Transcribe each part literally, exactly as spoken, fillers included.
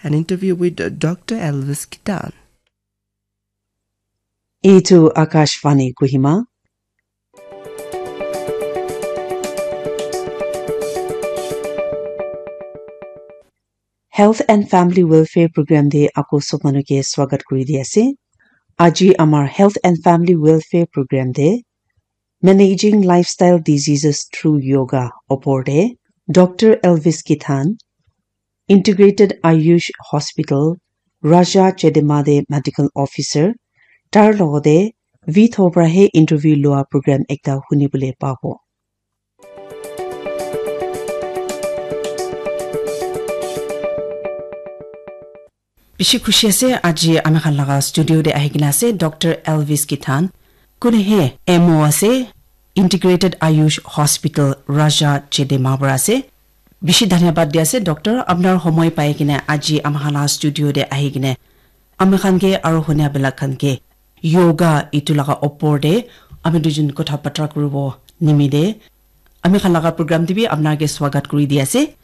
an interview with Doctor Elvis Kitan. Itu Akashvani Kohima. Health and Family Welfare Program te ako sob manu ke swagat kuri di ase. Aji amar Health and Family Welfare Program te Managing Lifestyle Diseases Through Yoga opor te Doctor Elvis Kithan, Integrated Ayush Hospital, Raja Chedemade Medical Officer, tar logode Vitho para he interview lua program ekta huni bole pabo. Bishi khushi ase, aji ami khan laga studio te ahi kena ase, Doctor Elvis Kithan. Kune he M O ase, Integrated Ayush Hospital, Raja Chedema para ase. Bishi dhanyabad di ase, Doctor. Apnar homoi pai kena aji ami khan laga studio te ahi kena ami khan ke aro hunia belak khan ke yoga itu laga opor te ami duijun kotha batra kuribo nimite ami khan laga program te bi apnar ke swagat kuri di ase.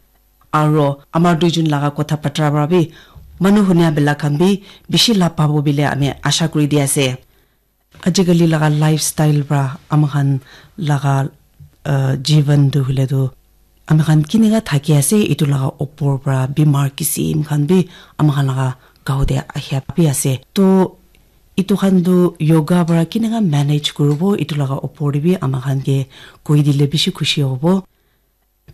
Aro amar duijun laga kotha batra para bi manu hunia belak khan bi bishi labh pabo bile ami asha kuri di ase. Ajikali laga lifestyle para ami khan laga, uh, jivan tu hoile tu ami khan kineka thaki ase, itu laga opor para bimar kisim khan bi ami khan laga gao te ahia bi ase. To itu khan tu yoga para kineka manage kuribo, itu laga opor te bi ami khan ke koi dile bishi khushi hobo.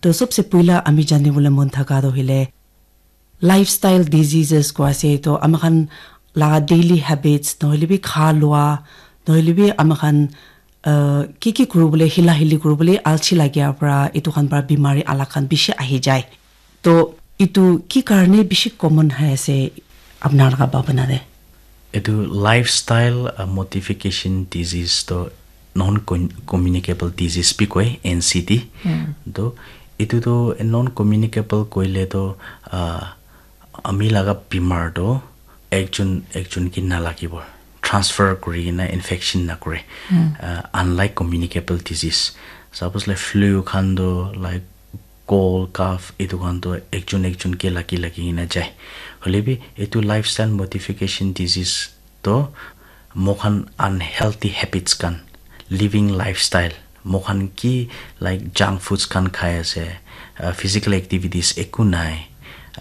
To sobse puila ami jani bole mon thaka to hoile lifestyle diseases ko ase, to ami khan laga daily habits, nohole bi kha lua, nohole bi ami khan, uh, ki ki kuri bole, hila hili kuri bole alsi lagia para, itu khan para bimari alak khan bishi ahi jai. To itu ki karne bishi common hai ase apnar laga bhabana te? Etu lifestyle, uh, modification disease to non communicable disease bi koi, N C D. To etu to non communicable koile to, uh, ami laga bimar to ekjon ekjon ke nalagibo, transfer kuri kena infection nakore. Uh, unlike communicable disease, suppose like flu khan to like cold, cough, etu khan to ekjon ekjon ke lagi lagi kena jai. Hoile bi etu lifestyle modification disease to moikhan unhealthy habits khan, living lifestyle, moikhan ki like junk foods khan khai ase, uh, physical activities eku nai,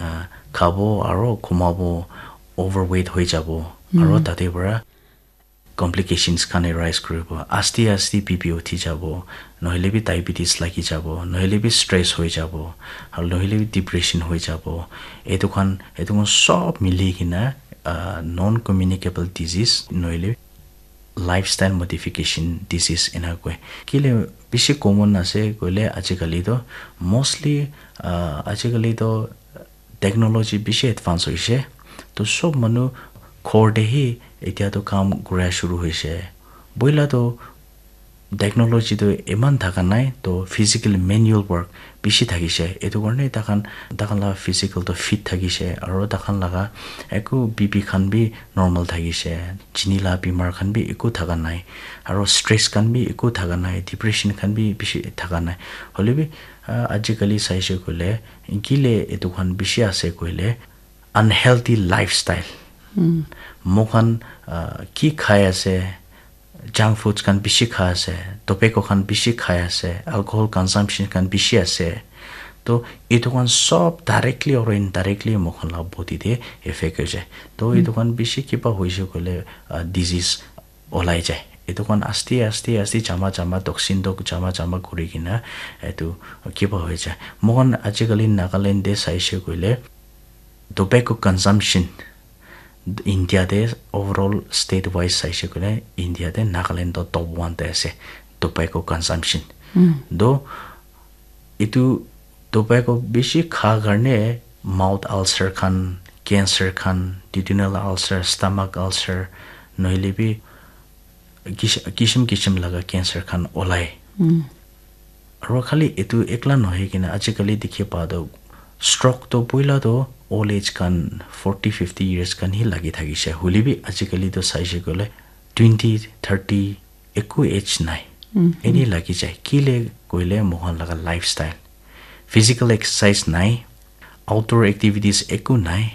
uh, khabo aro khumabo, overweight hoi jabo, aro tate para complications khan arise kuribo. Aste aste B P uthi jabo, nohole bi diabetes lagi jabo, nohole bi stress hoi jabo, aro nohole bi depression hoi jabo. Etu khan, etu khan sob mili kena, uh, non communicable disease, nohole lifestyle modification disease ena koi. Kile bishi common ase koile ajikali to mostly, uh, ajikali to technology bishi advance hoise. To sob manu ghor te hi etia to kam kura shuru hoise. Boila to technology to eman thaka nai, to physical manual work bishi thakise. Etu karne takhan, takhan la physical to fit thakise, aro takhan laga eku B P khan bi normal thakise, chini la bimar khan bi eku thaka nai, aro stress khan bi eku thaka nai, depression khan bi bishi thaka nai. Hoile bi, ah, ajikali saise koile, kile etu khan bishi ase koile, unhealthy lifestyle. Moikhan, ah, ki khai ase, junk foods khan bishi khai ase, tobacco khan bishi khai ase, alcohol consumption khan bishi ase. To etu khan sob directly or indirectly moikhan la body te effect hoi jai. To etu khan bishi kiba hoise koile, ah, disease olai jai. Etu khan aste aste aste jama jama toxin to jama jama kuri kena etu kiba hoi jai. Moikhan ajikali Nagaland te saise koile tobacco consumption India te overall state wise saise koile India te Nagaland to top one te ase tobacco consumption. To etu tobacco bishi kha karne mouth ulcer khan, cancer khan, duodenal ulcer, stomach ulcer, nohole bi kish-, kishim kishim laga cancer khan olai. Aro khali etu ekla nohoi kena ajikali dikhi pa to stroke to poila to old age khan forty, fifty years khan hi lagi thakise. Hoile bi ajikali to saise koile twenty, thirty, eku age nai. Eni lagi jai. Kile koile moikhan laga lifestyle. Physical exercise nai. Outdoor activities eku nai.